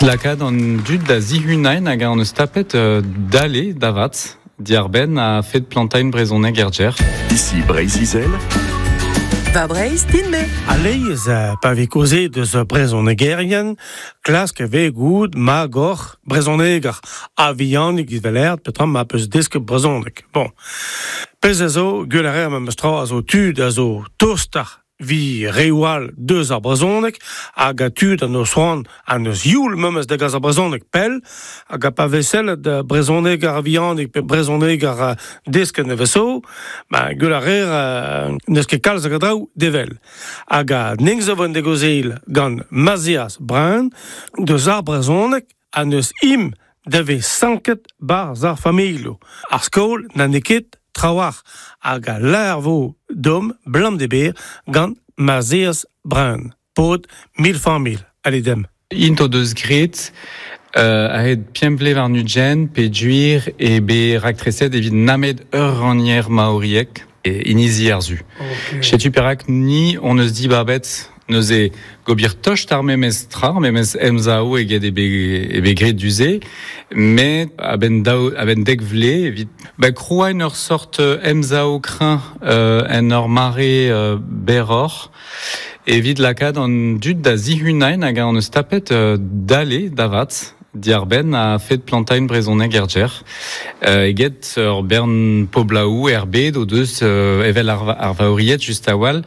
lakaat an dud da zihunain hag an eus tapet dale davat diarbenn a fed plantain brezhoneg er ger. Ici Breizh-Izel. Va Breizh din-me. Aleiz, pa vez kaozeet eus brezhonegerien, klask e vez goût magoc'h brezhoneger a-vihanik evel petra ma peus desket brezhoneg. Bon. Pezh a zo, gwell a reer memes tra a zo tud a zo tostoc'h vi reoù all deus ar brezhoneg hag a tud an eus c'hoant an eus youl memes da gas ar brezhoneg pell hag a pa vez sellet brezhoneg ar vihanik pe brezhoneg ar desket neveso ba gwell a reer n'eus ket kalz a draoù devel hag a ning zo vo degozel gant Mazias Brun deus ar brezhoneg ha n'eus im da vez sanket 'barzh ar familhoù. Ar skol na n'eo ket trawalc'h hag a lâr vo dom blam de ber gant Mazeas Brun, paotr mil familh. Allez dem. Int o deus graet a-hed pemp vlev warn-ugent peogwir eo bet raktreset evit nemet ur rannier maoriek e inizi ar Su. Setu perak ni hon eus dibabet neuze gobir tost ar memes tra, ar memes emsav eget eo bet graet du-se, met a-benn daou, a-benn dek vlez evit ba krouañ ur sort emsav kreñv en ur mare berroc'h evit lakaat an dud da zihunañ hag an eus tapet dale da vat diarbenn a-fet plantañ brezhoneg er gêr eget ur bern poblaoù er bed o deus evel ar Vaoried just a-walc'h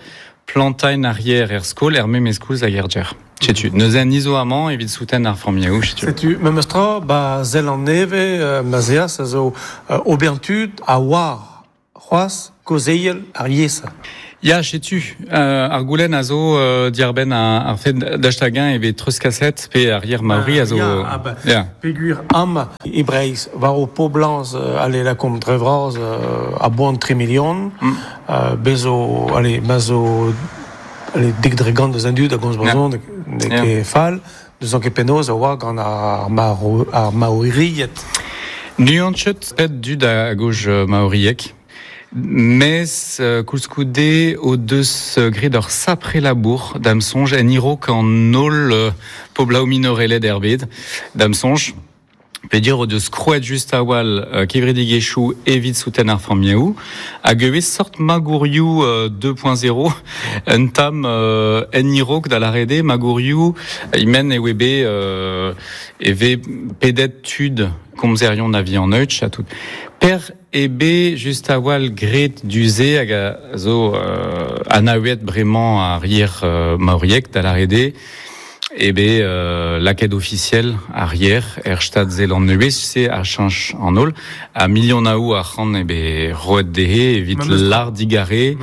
plantañ ar yer er skol er memes koulz hag er gêr. Setu, neuze ni zo amañ evit souten ar familhoù, setu. Setu, memes tra, ba Zeland-Nevez, ma 'z eas, a zo ober tud a oar c'hoazh kaozeal ar yezh. Ya, setu, ar goulenn a zo diarbenn ar fed daoust-hag-eñ e vez treuzkaset pe ar yer maori a zo... Ya, ah ben, ya. Peogwir amañ e Breizh, war ho poblañs, ale lakaomp dre vras a-boan 3 milion, Bez zo, allez, ma zo allez, 10% deus an dud a gomz brezhoneg, n'eo ket fall, n'eus ket penaos a oa gant ar, maro, ar maoried. Nuanchet pet dud a goj maoriek, mes koulskoude o deus graet ur sapre labour da'm soñj en a-raok an holl poblaoù minorelet er bed, da'm soñj. Pedir o deus krouet just a-walc'h kevredigezhioù evit souten ar familhoù hag ivez sort magourioù 2.0 un tamm en a-raok da lâret eo magourioù e-men e oe bet e vez pedet tud komzerion a vihan-eutch ha tout. Per eo bet just a-walc'h graet du-se hag a zo anaouet bremañ ar yer maoriek da lâret eo eo bet lakaet ofisiel ar yer er Stad Zeland-Nevez, se a cheñch an holl. Ha milionaoù arc'hant eo bet roet dezhe evit lâr digare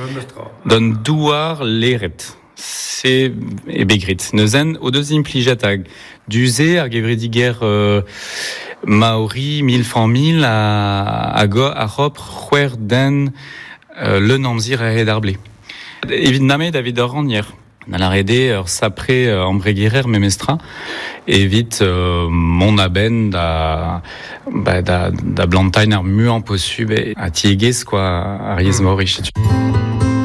d'an douar leret. Se eo bet graet. Neuzen o deus implijet hag du-se ar gevredigezh Maori mil familh hag a c'hopr c'hwec'h den leun amzer a-hed ar blez. Evit nemet evit ur rannier. Da lâret eo ur sapre embregerer memestra evit mont a-benn da ba da da blantañ ar muiañ posubl ha tiegezh quoi ar yezh maori setu.